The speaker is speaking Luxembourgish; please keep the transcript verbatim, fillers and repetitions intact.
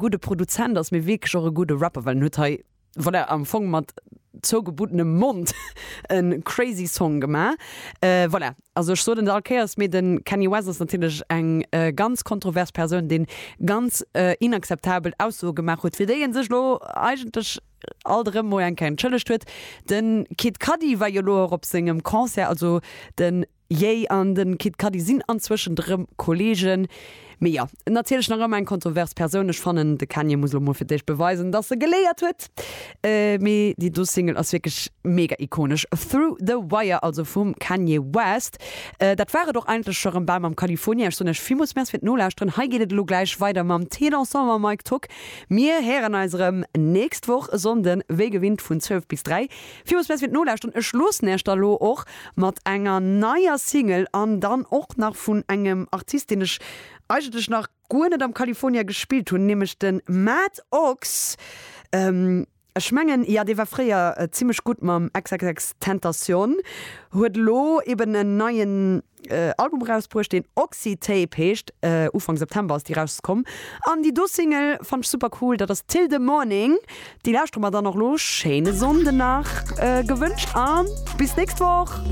Gudde Produzent ass, mee wierklech och e gudde Rapper, well en huet hei, voilà, am Fong mat zougebunnenem Mond e crazy Song gemaach. Voilà, also ech soen et all Kéiers, mee de Kanye West ass natierlech eng ganz kontrovers Persoun, deen ganz inakzeptabel Aussoe gemaach huet, fir déi en sech elo eigentlech alt erëm mol eng Kéier entschëllegt huet. De Kid Cudi war jo elo och op sengem Concert, also de Ye an de Kid Cudi sinn anzwëschent erëm Kolleegen. Mee jo, natierlech nach ëmmer eng kontrovers Persoun. Ech fannen, de Kanye muss elo mol fir d'éischt beweisen, dass e geléiert huet. Mee déi do Single ass wierklech mega ikonesch. Through the Wire also vum Kanye West. Dat war et och eigentlech scho rëm bal mam California. Ech soen iech villmools Merci fir d'Nolauschteren. Hei geet et elo gläich weider mam Thé Dansant mam Mike Tock. Mir héieren eis erëm nächst Woch e Sonnden, wéi gewinnt vun zwielef bis dräi. Villmools Merci fir d'Nolauschteren. Ech loossen iech da lo och mat enger neier Single an dann och nach vun engem Artist, deen ech eigentlech nach guer net am California gespillt hunn, nämlech de Matt Ox. Ech mengen, jo, dee war fréier zimmlech gutt mam XXXTentacion, huet elo eben en neien Album erausbruecht, deen Oxytape heescht. Ufank September ass déi erauskomm. An déi do Single fannt ech super cool, dat ass Till the Morning. Déi lauschtere mer dann och elo. Schéine Sonnden nach gewënscht a bis nächst Woch!